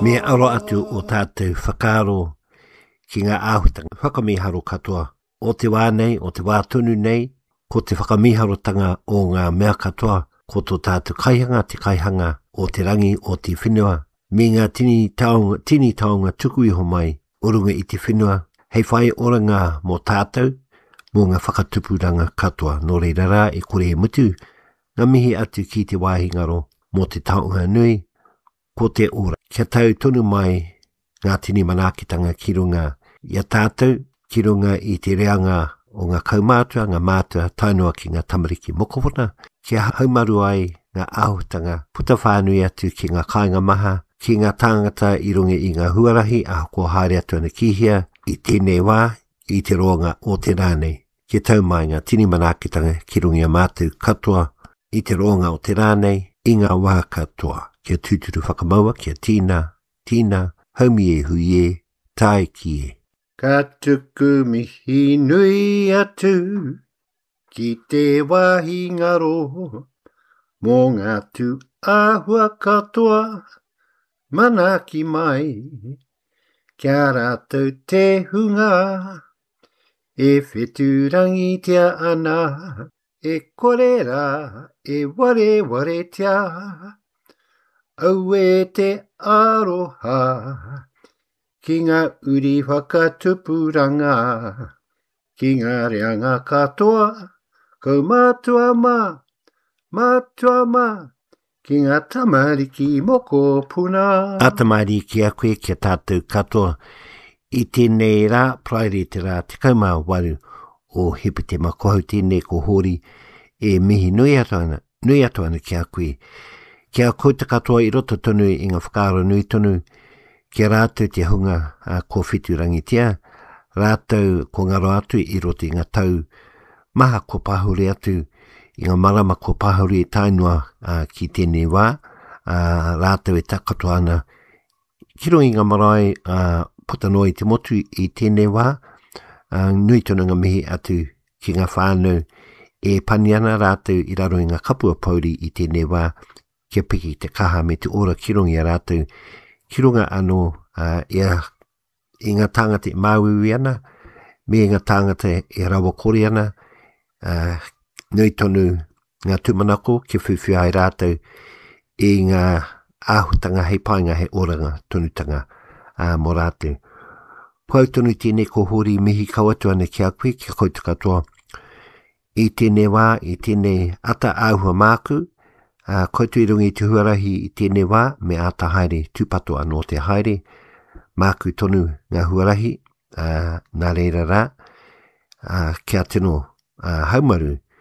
Me aro atu o tātou whakaaro ki ngā āhuatanga whakamīharo katoa o te wā nei, o te wā tonu nei, ko te whakamīharotanga o ngā mea katoa, ko tō tātou kaihanga te kaihanga o te rangi, o te whenua, me ngā tini taonga, tini taonga tuku iho mai o runga i te whenua, hei whai oranga mō tātou, mō ngā whakatupuranga katoa. Nō reira rā, e kore e mutu ngā mihi atu ki te wāhi ngaro mō te taonga nui, ko te ora. Kia tau tonu mai ngā tini manaakitanga ki runga i a tātou, ki runga i te reanga o ngā kaumātua, ngā mātua, tae noa ki ngā tamariki mokopuna, kia haumaru ai ngā āhuatanga puta whānui atu ki ngā kāinga maha, ki ngā tāngata i runga i ngā huarahi ahakoa haere atu ana ki hea i tēnei wā, i te roanga o te rā nei. Kia tau mai ngā tini manaakitanga ki runga i a mātou katoa i te roanga o te rā nei, i ngā wā katoa. Kia tūturu whakamaua, kia tīna, tīna, haumi e hui e, tae ki e. Ka tuku mihi nui atu ki te wāhi ngaro mō ngā tū āhua katoa manaaki mai kia rātou te hunga E whetūrangitia ana, e kore rā e warewaretia. Auē te aroha ki ngā uri whakatupuranga, ki ngā reanga katoa, kaumātua mā, mātua mā, Ki ngā tamariki mokopuna. Āta mārie ki a koe, ki a tātou katoa. I tēnei rā, Paraire te rā 18 o Hepetema, ko hau tēnei ko Hōri e mihi nui atu ana, nui atu ana ki a koe. Ki a koutou katoa i roto tonu i ngā whakaaro nui tonu, ki a rātou te hunga a ko Whiturangitia, rātou ko ngaro atu i roto i ngā tau maha kua pahure atu i ngā marama kua pahure tae noa uh, ki tēnei wā, uh, rātou e takoto ana ki runga i ngā marae uh, puta noa i te motu i tēnei wā, uh, nui tonu ngā mihi atu ki ngā whānau e pani ana rātou i raro i ngā kapua pouri i tēnei wā, kia piki te kaha me te ora ki runga i a rātou, ki runga anō uh, ia i ngā tāngata e māuiui ana, me ngā tāngata e rawakore ana, uh, nui tonu ngā tūmanako kia whiwhi ai rātou i ngā āhutanga hei painga, hei oranga tonutanga uh, mō rātou. Ko au tonu tēnei ko Hōri mihi kau atu ana ki a koe, ki a koutou katoa. I tēnei wā, i tēnei ata āhua māku, ā, koutou i runga i te huarahi i tēnei wā, me āta haere tūpato anō te haere, māku tonu ngā huarahi, ā, nā reira rā, ā, kia tino ā, haumaru.